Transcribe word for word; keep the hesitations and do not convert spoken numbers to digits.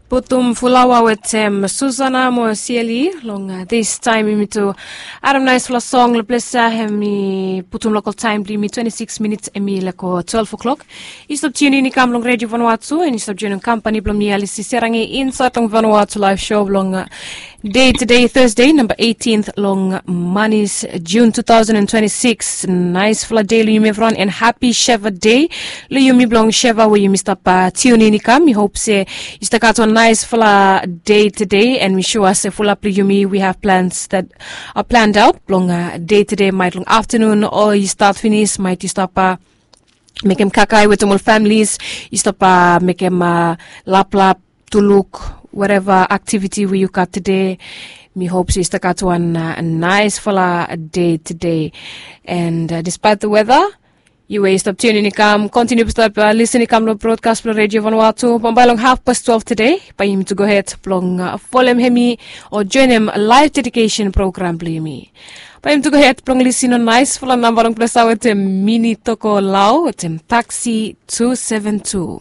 Putum fulawa wetem Susana mo Sieli long distaem yumi tu. Adam naisfala song long ples ya, hem i putum lokal taem blong yumi twenti sikis minits, hem i leko twelve o'clock. Yu stap tiunin i kam long Redio Vanuatu, en yu stap joinim kampani blong mi, Alisi Serangi, insaed long Vanuatu Laef Show blong dei tedei, Thursday, namba eighteen long manis, June two thousand and twenty-six. Naisfala dei long yumi evriwan, en hapi Sheva dei long yumi blong Sheva we yumi stap tiunin i kam. Mi hop se yu stap gat wan naisfala dei tedei, en mi sua se fulap long yumi, we have plans that are planned out blong dei tedei, maet long aftanun o yu stat finis, maet yu stap mekem kakae wetem ol families, yu stap mekem laplap, tuluk, whatever activity we yu gat tede. Mi hop se yu stap gat wan naisfala dei tede. And despite the weather, yu we yu stap tiunin i kam, kontiniu stap lisin i kam long brodkas blong Redio Vanuatu. Bambae long hafpas twelve tede, bae yumi tu gohed blong folem hemi o joinim laef dedikesen program blong yumi. Bae yumi tu gohed blong lisin long naisfala namba long ples ya wetem Mini Toko Lao wetem Taxi two seven two.